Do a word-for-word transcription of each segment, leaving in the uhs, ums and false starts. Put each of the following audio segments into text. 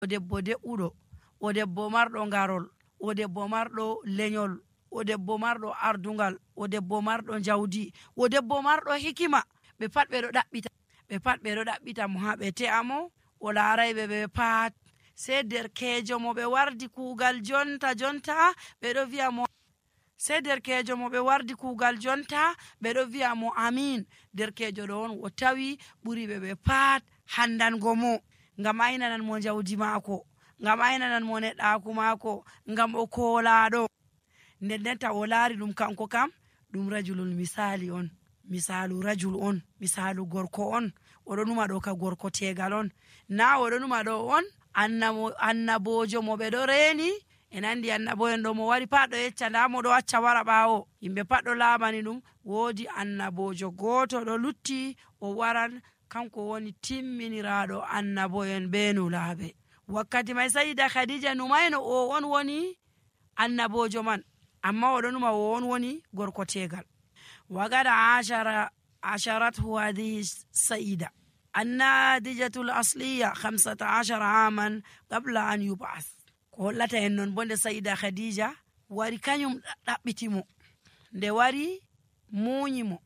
o debbo de'uɗo, o debbo marɗo ngarol, o debbo marɗo lenyol, o debbo marɗo ardungal, o debbo marɗo jawdi, o debbo marɗo hikima, ɓe pat ɓe ɗo ɗaɓɓita ɓe pat ɓe ɗo ɗaɓɓita mo ha ɓe te'a mo o laarayɓe ɓe pat. Sei derkejo mo ɓe wardi kuugal jonta jonta ɓe ɗo wi'a mo sei derkejo mo ɓe wardi kuugal jonta ɓe ɗo wi'a mo amin. Derkejo ɗo on o tawi ɓuri ɓe ɓe pat handango mo, ngam aynanan mo jawdi maako, ngam aynanan mo neɗɗaaku maako, ngam o koolaɗo. nden ndenta o laari ɗum kanko kam ɗum rajulul misali on, misalu rajul on, misalu gorko on. oɗo numa ɗo ka gorko tegal on, na oɗo numa ɗo on annabojo mo ɓe ɗo reeni. en andi annabo'en ɗo mo wari pat ɗo yecca nda mo ɗo acca wara ɓaawo, yimɓe pat ɗo laamani ɗum. woodi annabojo gooto ɗo lutti o waran, kanko woni timminiraɗo annabo'en be nulaaɓe. wakkati mai sayida khadija numayno o on woni annabojo man, amma oɗo numa o on woni gorko tegal. wagada ashara asharathu hadihi sayida annadijatul asliya khamsata ashara aman qabla an yub'ath. ko hollata en non bo nde sayida khadija wari kanyum ɗaɓɓitimo, nde wari munyimo,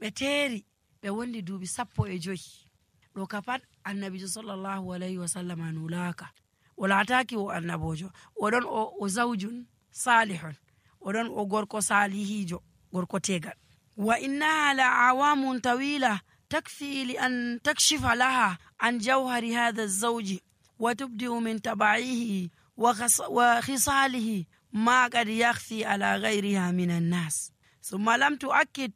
ɓe teeri ɓe wondi duuɓi sappo e joyi. ɗo ka pat annabijo sallallahu alayhi wa sallam nulaka, o laataki o annabojo, oɗon o, o zawjun salihun, oɗon o gorko salihijo, gorko tegal. wa innaha la awamun tawila takfi li an takshifa laha an jawhari hadha zawji wa tubdi'u min taba'ihi wa khisalihi ma qad yakhfi ala ghayriha min an-nas. thumma lam tu'akkid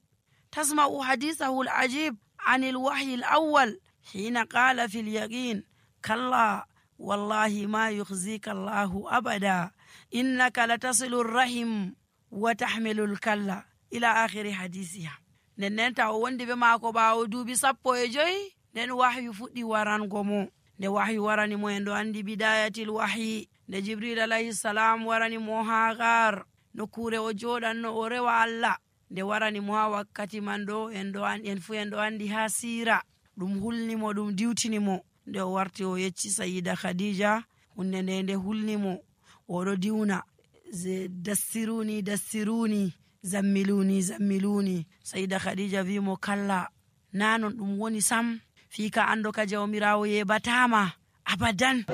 tasma'u hadithahu al-ajib an al-wahyi al-awwal hina qala fi al-yaqin kalla wallahi ma yukhzika Allahu abada innaka latasilu ar-rahim wa tahmilu al-kalla ila akhiri hadisiha. nden nden ta o wondi be maako ɓaawo duuɓi sappo e joyi, nden wahyu fuɗɗi warango mo. nde wahyu warani mo en ɗo andi bidayatil wahyi, nde jibril alayhi salam warani mo ha gar nokkure o joɗanno o rewa Allah, nde warani mo ha wakkati man ɗo en ɗo en fu en ɗo andi ha sira, ɗum hulnimo, ɗum diwtinimo. nde o warti o yecci sayida khadija hunde nde nde hulnimo, oɗo diwna dassiruni dassiruni zammiluni zammiluni. sayida khadija wi mo kalla, nanon ɗum woni sam, fika ando ka jawmirawo yebatama abadan.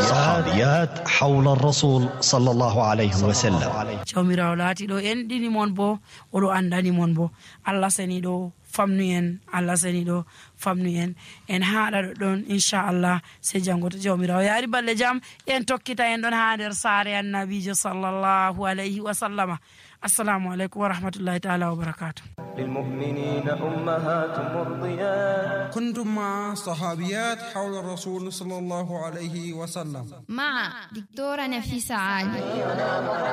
صحابيات حول الرسول صلى الله عليه وسلم. jawmirawo laati ɗo en ɗini mon bo oɗo andani mon bo. Allah seni ɗo famnu en, Allah seni ɗo famnu en. en haɗa ɗo ɗon inchallah se jango to jawmirawo yaari balle jam en tokkita en ɗon ha nder saare annabijo sallallahu alayhi wa sallama. assalamu alaikum wa rahmatullahi ta'ala wa barakatuh. للمؤمنين أمهات مرضيات. كنتم مع صحابيات حول الرسول صلى الله عليه وسلم مع دكتورة نفيسة عالي.